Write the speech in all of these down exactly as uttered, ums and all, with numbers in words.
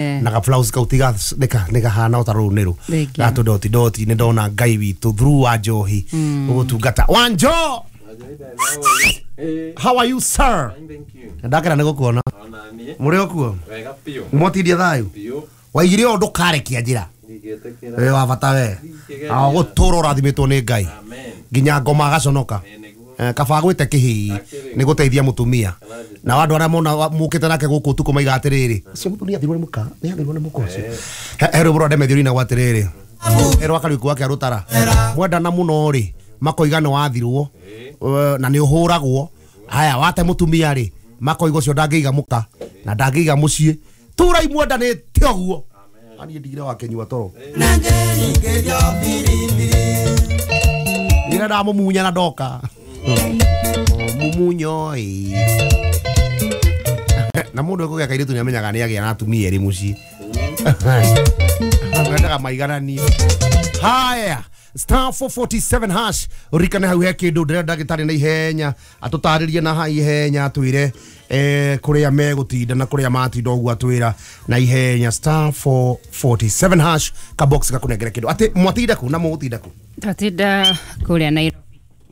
Na ga blouse kau tiga nĩ gahana o ta rũu nĩ rũ gatũ doti doti nĩ ndona Ngai witũ through wa njohi ũgũtungata. Wanjo, how are you, sir? Ndakena nĩ gũkuona. Mũrĩ o kuo? Mwatindia thayũ? Waigire ũũ ndũkarekia njĩra. Wĩ wa bata we. Gũtũra ũrathimĩtwo nĩ Ngai nginya ngoma agaconoka. Kaba gwĩte kĩhii nĩ gũteithia mũtumia. Na andũ arĩa mona mũkĩte nake gũkũ ũtukũ maiga atĩrĩrĩ, ũcio mũtumia athirwo nĩ mũka, nĩ athirwo nĩ mũka ũcio. He rwĩmbo rwa Demethiũ rũinagwo atĩrĩrĩ, he rwa Kariũki wa Kĩarũtara, mwendana mũno rĩ, makoiga nĩ wathirwo na nĩ ũhũragwo. Haya, wate mũtumia rĩ, makoiga ũcio ndangĩiga mũka na ndangĩiga mũciĩ. Tũrai mwendanĩte ũguo. Niĩ ndigire wakĩnyua toro. Ndigire ndamũmunya na ndoka. Mumunyo ĩ. Na mũndũ ekũgĩa kairĩtu nĩamenyaga nĩagĩa na atumia erĩ mũciĩ. Mendaga maigananie. Haya, star four forty-seven hash urikane hau he kĩndũ ndĩrenda ndagĩtarĩ na ihenya atũtarĩrie na ihenya atwĩre eh kũrĩa megũtinda na kũrĩa matinda ũguo atwĩra na ihenya. Star four forty-seven hash ka box gakũnengere kĩndũ. Atĩ mwatinda kũ na mũgũtinda kũ? Twatinda kũrĩa Nairobi.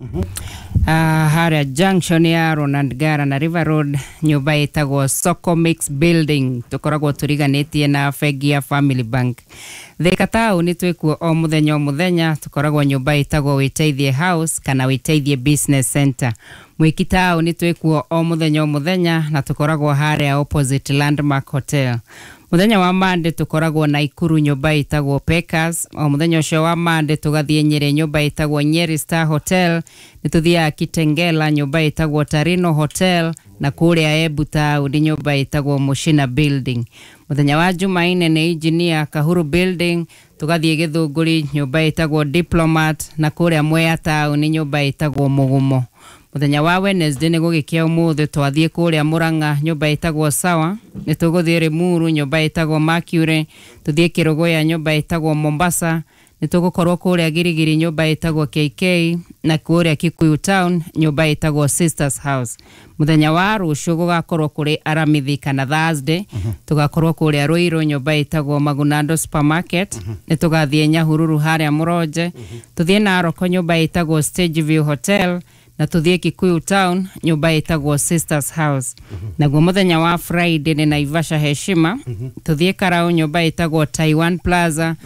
Uh, harĩa junction ya Ronald Gara na River Road, nyũmba ĩtagwo Soko Mix Building, tũkoragwo tũriganĩtie na bengi ya Family Bank. Thika taũni twĩkuo o mũthenya o mũthenya, tũkoragwo nyũmba ĩtagwo Wĩteithie House kana Wĩteithie Business Center. Mwiki taũni twĩkuo o mũthenya o mũthenya na tũkoragwo harĩa opposite Landmark Hotel. Mũthenya wa Monday tũkoragwo Naikuru nyũmba ĩtagwo Pekas. O mũthenya ũcio wa Monday tũgathiĩ Nyeri nyũmba ĩtagwo Nyeri Star Hotel. Nĩ tũthiaga Kitengela nyũmba ĩtagwo Tarino Hotel na kũrĩa Embu taũni nyũmba ĩtagwo Mushina Building. Mũthenya wa Jumaine nĩ Engineer Kahuru Building, tũgathiĩ Gĩthũngũri nyũmba ĩtagwo Diplomat na kũrĩa Mwea taũni nyũmba ĩtagwo Mũgumo. Mũthenya wa Wednesday nĩ gũgĩkĩa ũmũthĩ twathiĩ kũrĩa Murang'a nyũmba ĩtagwo Sawa, nĩ tũgũthiĩ Limuru nyũmba ĩtagwo Mercury, tũthiĩ Kĩrũgũya nyũmba ĩtagwo Mombasa, nĩ tũgũkorwo kũrĩa Girigiri nyũmba ĩtagwo K K na kũrĩa Kikuyu Town nyũmba ĩtagwo Sisters House. Mũthenya wa rũciũ gũgakorwo kũrĩ Aramithi kana Thursday, tũgakorwo kũrĩa Ruiru nyũmba ĩtagwo Magunando Supermarket, nĩ tũgathiĩ Nyahururu harĩa Mũronje, tũthiĩ Narok nyũmba ĩtagwo Stage View Hotel na tũthiĩ Kikuyu Town nyũmba ĩtagwo Sisters House. Naguo mũthenya wa Friday nĩ Naivasha Heshima, tũthiĩ Karau nyũmba ĩtagwo Taiwan Plaza,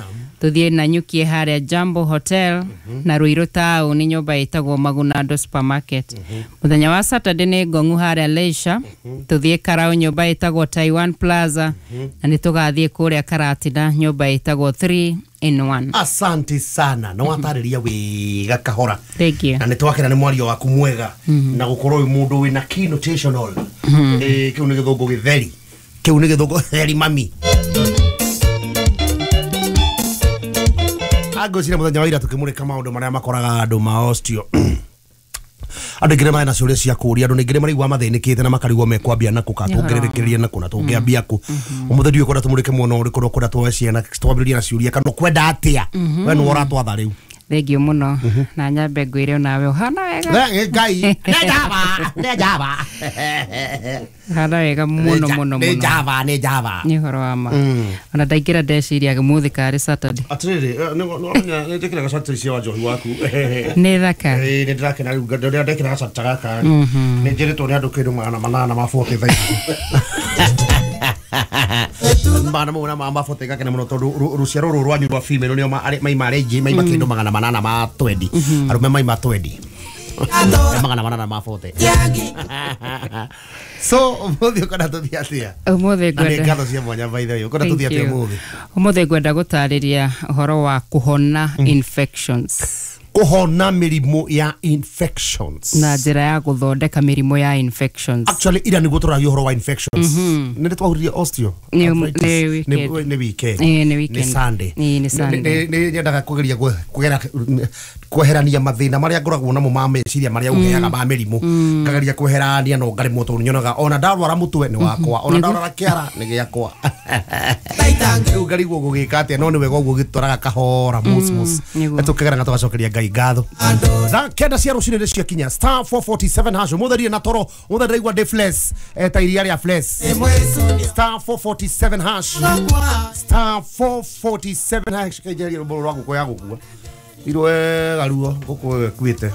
tũthiĩ Nanyuki harĩa Jambo Hotel na Ruiru Town nyũmba ĩtagwo Magunando Supermarket. Mũthenya wa Saturday nĩ Ngong'u harĩa Leisure, tũthiĩ Karau nyũmba ĩtagwo Taiwan Plaza na nĩ tũgathiĩ kũrĩa Karatina nyũmba ĩtagwo three in one. Asante sana na watarĩria wega kahora. Thank you. Na nĩ twakena nĩ mwario waku mwega na gũkorwo wĩ mũndũ wĩna keynotational. Eh kĩu nĩ gĩthũngũ gĩtheri. Kĩu nĩ gĩthũngũ gĩtheri mami. Angwĩciria mũthenya wa ira tũkĩmũrĩka maũndũ marĩa makoraga andũ ma osteo. Andũ aingĩ nĩmarĩ na ciũria cia kũũria, andũ aingĩ nĩmaraigua mathĩnĩkĩte na makarigwo mekwambia nakũ kana tũngĩrĩrĩkĩria nakũ na tũngĩambia kũ. Ũmũthĩ ndiũĩ kwenda tũmũrĩke mwena ũrĩkũ, ũkwenda tuoe ciana twambĩrĩrie na ciũria kana ũkwenda atĩa? We nĩwe ũratwatha rĩu. Thengiũ mũno na nyambe ngwĩre onawe ũhana wega. Ngai nĩ njaba nĩ njaba Ũhana wega mũno mũno mũno. Nĩ njaba nĩ njaba. Nĩ ũhoro wa ma. Ona ndaingĩra ndeciria ũmũthĩ karĩ Saturday. Atĩrĩrĩ, nĩ njĩkĩraga shati cia njohi waku. Nĩ thaka. Nĩ ndĩrakena rĩu rĩrĩa ndekĩraga shati gaka nĩ njĩrĩtwo nĩ andũ kĩndũ magana manana ma forty thaa ici. Magana mau na ma forty gakena mũno tondũ rũciaro rũrũ rwanyu rwa female nĩo maima arĩa aingĩ maima kĩndũ magana manana ma twenty. Arũme maima twenty. Magana manana ma forty. So ũmũthĩ ũkwenda tũthiĩ atĩa? Ũmũthĩ ngwenda. Na nĩ ngatho cia mwanya by the way. Ũkwenda tũthiĩ atĩa ũmũthĩ? Ũmũthĩ ngwenda gũtarĩria ũhoro wa kũhona infections. Kũhona mĩrimũ ya infections. Na njĩra ya gũthondeka mĩrimũ ya infections. Actually ira nĩguo tũragia ũhoro wa infections. Nĩ twahuririe osteo. Nĩ weekend. Nĩ weekend. Nĩ weekend. Nĩ Sunday. Nĩ Sunday. Nĩ nyendaga kũgeria kũgera kweherania mathĩna marĩa ngoragwo namo ma meciria marĩa ũheaga ma mĩrimũ. Ngageria kweherania no ngaremwo tondũ nyonaga ona ndarwara mũtwe nĩ wakwa, ona ndarwara kĩara nĩ gĩakwa. Rĩu ngarigwo gũgĩka atĩa no nĩ wega ũguo gĩtwaraga kahora mos mos. Tũkĩgera na tũgacokeria Ngai Ngai ngatho. Thaa kenda cia rũcinĩ nĩ ciakinya. Star four forty-seven hash. Ũmũthĩ ndirĩ na toro, ũmũthĩ ndĩraigua ndĩ flex, eh, ta iria rĩa flex. Star four forty-seven hash. Star four forty-seven hash. Kaijeria rũmbo rwa ngũkũ ya gũkua. Irwo wega ruo ngũkũ ĩyo ĩkuĩte.